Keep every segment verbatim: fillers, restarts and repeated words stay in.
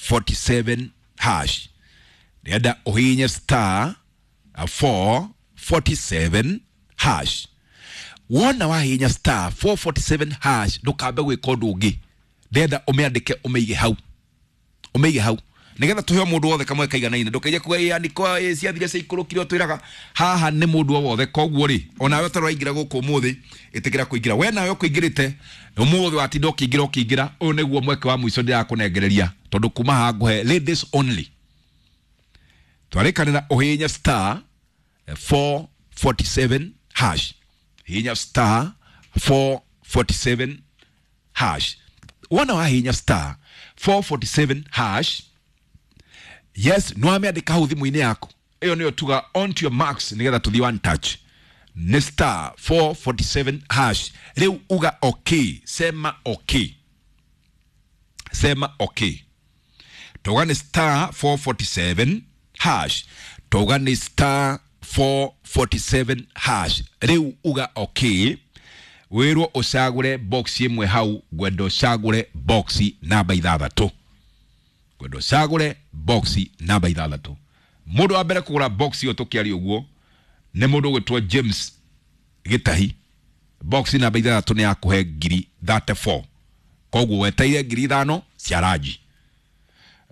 forty-seven hash. Ndĩrenda ũhihinye star four forty-seven hash. Wona wahihinya star four forty-seven hash ndũkambe gwĩka ũndũ ũngĩ, ndĩrenda ũmĩandĩke ũmĩige hau, ũmĩige hau nigetha tuhe mũndũ wothe kamwe kaiganaine. Ndũkaige kuga ĩ andĩko ĩ ciathire ciaikũrũkire twĩraga haha nĩ mũndũ o wothe. Koguo rĩ, onawe ũtarĩ waingĩra gũkũ ũmũthĩ, ĩtĩkĩra kũingĩra. We nawe ũkũingĩrĩte ũmũthĩ, watinda ũkĩingĩra ũkĩingĩra, ũyũ nĩguo mweke wa mũico ndĩrakũnengereria, tondũ kuma haha ngũhe ladies only. Twarĩkanĩra ũhihinye star four forty-seven hash, hihinya star four forty-seven hash. Wona wahihinya star four forty-seven hash, yes, no amĩandĩka hau thimũ-inĩ yaku. Ĩyo nĩyo tuga on to your marks nĩgetha tũthiĩ one touch. Nĩ star four forty-seven hash. Rĩu uga okay, sema okay, sema okay. Tuga nĩ star four forty-seven hash, tuga nĩ star four forty-seven hash. Rĩu uga okay, wĩrwo ũcagũre box ĩmwe hau. Ngwenda ũcagũre box namba ithathatũ, ngwenda ũcagũre box namba ithathatũ. Mũndũ wa mbere kũgũra box ĩyo tũkĩaria ũguo nĩ mũndũ ũgwĩtwo James Gĩtahi. Box namba ithathatũ nĩ yakũhe ngiri thirty-four, koguo weteire ngiri ithano cia ranji.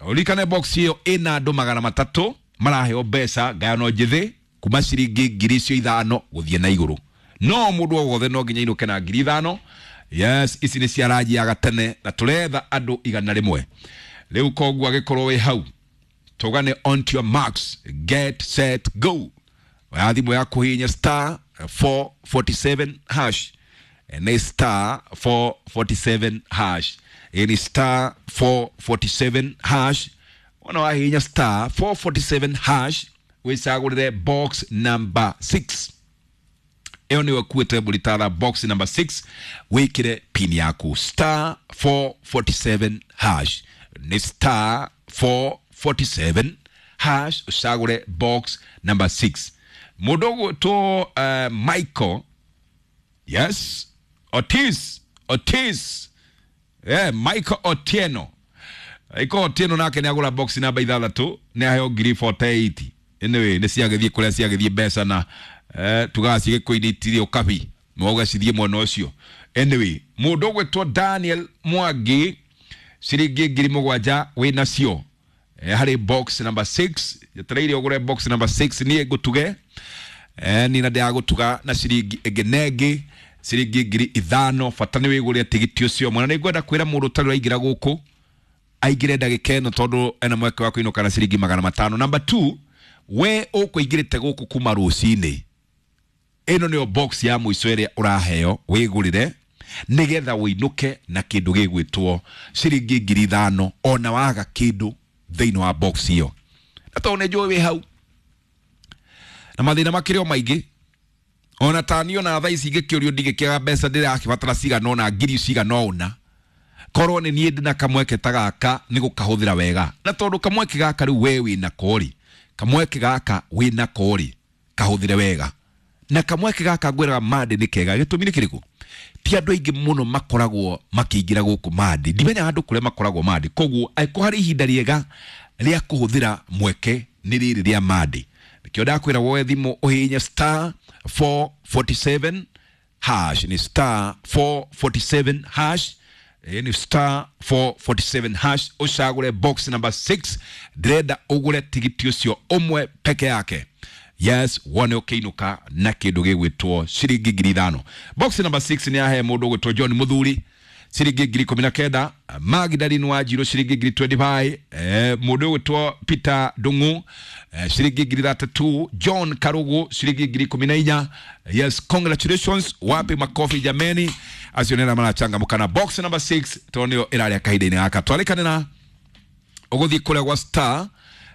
Ũririkane box ĩyo ĩna andũ magana matatũ maraheo mbeca ngayano njĩthĩ kuma ciringi ngiri icio ithano gũthiĩ na igũrũ. No mũndũ o wothe no nginya ainũke na ngiri ithano. Yes, ici nĩ cia ranji ya gatene na tũretha andũ igana rĩmwe. Rĩu koguo agĩkorwo wĩ hau, tũgane on to your marks, get set go. Oya thimũ yaku hihinya star four forty-seven hash. Nĩ star four forty-seven hash. Ĩ ni star four forty-seven hash. Wona wahihinya star four forty-seven hash, wĩcagũrĩre box number six. Ĩyo nĩyo ĩkuĩte mbũri box number six, wĩkĩre pin yaku star four forty-seven hash. Nĩ star four forty-seven hash, ũcagũre box number six. Mũndũ ũgwĩtwo uh, Michael, yes, Otis, Otis, yeah, Michael Otieno. Michael Otieno nake nĩ agũra box namba ithathatũ, nĩ aheo ngiri forty-eight. Anyway, nĩ ciagĩthiĩ kũrĩa ciagĩthiĩ mbeca na eh, tugaga cigĩkũinĩ itirĩ ũkabi, mwauga cithiĩ mwena ũcio. Anyway, mũndũ ũgwĩtwo Daniel Mwangi ciringi ngiri mũgwanja wĩnacio eh, harĩ box number six. Njetereire ũgũre box number six niĩ ngũtuge eh, niĩ na ndĩragũtuga na ciringi ĩngĩ na ĩngĩ ciringi ngiri ithano. Bata nĩ wĩgũrĩre tigiti ũcio. Mwana nĩ ngwenda kwĩra mũndũ ũtarĩ ũraingĩra gũkũ aingĩre ndagĩka ĩno, tondũ ena mweke wa kũinũka na ciringi magana matano. Number two, we ũkũingĩrĩte gũkũ kuma rũcinĩ, ĩno nĩyo box ya mũico ĩrĩa ũraheo wĩgũrĩre nĩgetha ũinũke na kĩndũ gĩgwĩtwo ciringi ngiri ithano ona waga kĩndũ thĩinĩ wa box ĩyo. Na tondũ nĩ njũĩ wĩ hau na mathĩna makĩrĩ o maingĩ, ona ta niĩ ona thaa ici ingĩkĩũrio ndingĩkĩaga mbeca ndĩrakĩbatara cigana ũna, ngiri cigana ũna, korwo nĩ niĩ ndĩna kamweke ta gaka nĩ gũkahũthĩra wega. Na tondũ kamweke gaka rĩu we wĩnako rĩ, kamweke gaka wĩnako rĩ, kahũthĩre wega. Na kamweke gaka ngwĩraga Monday nĩ kega. Gĩtũmi nĩ kĩrĩkũ? Ti andũ aingĩ mũno makoragwo makĩingĩra gũkũ Monday. Ndimenyaga andũ kũrĩa makoragwo Monday. Koguo angĩkorwo harĩ ihinda rĩega rĩa kũhũthĩra mweke nĩ rĩrĩ rĩa Monday. Nĩkĩo ndakwĩra woe thimũ ũhihinye star four forty-seven hash. Ni star four forty-seven hash. Ni star four forty-seven hash, ũcagũre box number six. Ndĩrenda ũgũre tigiti ũcio ũmwe peke yake. Yes, wone ũkĩinũka na kĩndũ gĩgwĩtwo ciringi ngiri ithano. Box number six nĩ yahe mũndũ ũgwĩtwo John Mũthuri ciringi ngiri ikũmi na kenda. Magdalene Wanjiru ciringi ngiri twenty-five. Eh, mũndũ ũgwĩtwo Peter Ndung'u eh, ciringi ngiri thirty-two. John Karugu ciringi ngiri ikũmi na inya. Yes, congratulations, wapi makofi jameni. Acio nĩ arĩa marachangamka na box number six tondũ nĩyo ĩrarĩa kahinda-inĩ gaka. Twarĩkanĩra ũgũthiĩ kũrĩa gwa star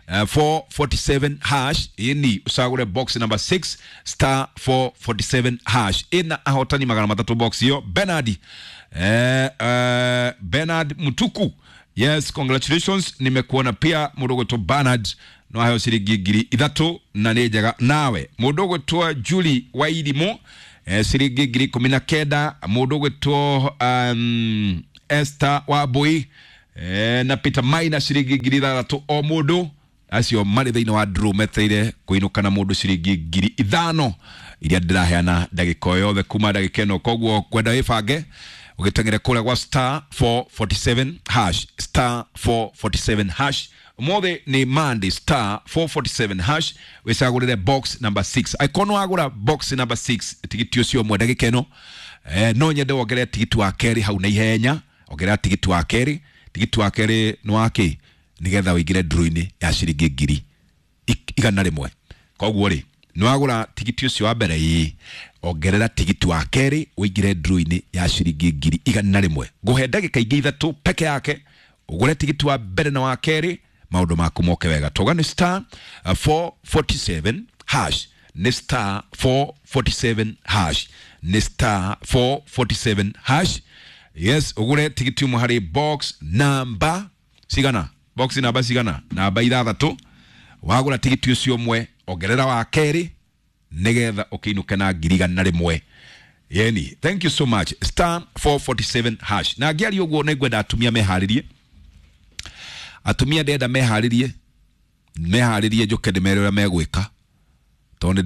Uh, four forty-seven hash, ini ucagũre box number six star four forty-seven hash. Ina ahotani magana matatu box hiyo. Bernard eh, eh, Bernard Mutuku, yes, congratulations, nimekuona pia mũndũ ũgwĩtwo Bernard no aheo ciringi ngiri ithatũ na nĩ njega. Nawe mũndũ ũgwĩtwo Julie Wairimu eh, ciringi ngiri ikũmi na kenda. Mũndũ ũgwĩtwo um, Esther Wambui e, na Peter Maina ciringi ngiri ithathatũ o mũndũ. Acio marĩ thĩinĩ wa draw meteire kũinũka na mũndũ ciringi ngiri ithano iria ndĩraheana ndagĩka o yothe kuma ndagĩka ĩno. Koguo kwenda wĩbange ũgĩteng'ere kũrĩa gwa star four forty-seven hash, star four forty-seven hash. Ũmũthĩ nĩ Monday. Star four forty-seven hash, wĩcagũrĩre box number six. Angĩkorwo nĩ wagũra box number six tigiti ũcio ũmwe ndagĩka ĩno, eh, no nyende wongerere tigiti wa kerĩ hau na ihenya. Ongerera tigiti wa kerĩ. Tigiti wa kerĩ nĩ wa kĩ? Nĩgetha ũingĩre draw-inĩ ya ciringi ngiri ik- igana rĩmwe. Koguo rĩ, nĩ wagũra tigiti ũcio wa mbere, ĩĩ, ongerera tigiti wa kerĩ ũingĩre draw-inĩ ya ciringi ngiri igana rĩmwe. Ngũhe ndagĩka ingĩ ithatũ peke yake ũgũre tigiti wa mbere na wa kerĩ, maũndũ maku moke wega. Toga nĩ star uh, four forty-seven hash, nĩ star four forty-seven hash, nĩ star four forty-seven hash. Yes, ũgũre tigiti ũmwe harĩ box namba cigana? Box namba cigana? Namba ithathatũ. Wagũra tigiti ũcio ũmwe, ongerera wa kerĩ nĩgetha ũkĩinũke na ngiri igana rĩmwe. Yeni, thank you so much. Star four forty-seven hash. Na ngĩaria ũguo, nĩ ngwenda atumia meharĩrie. Atumia ndĩrenda meharĩrie, meharĩrie njũke ndĩmere ũrĩa megwĩka tondũ nĩ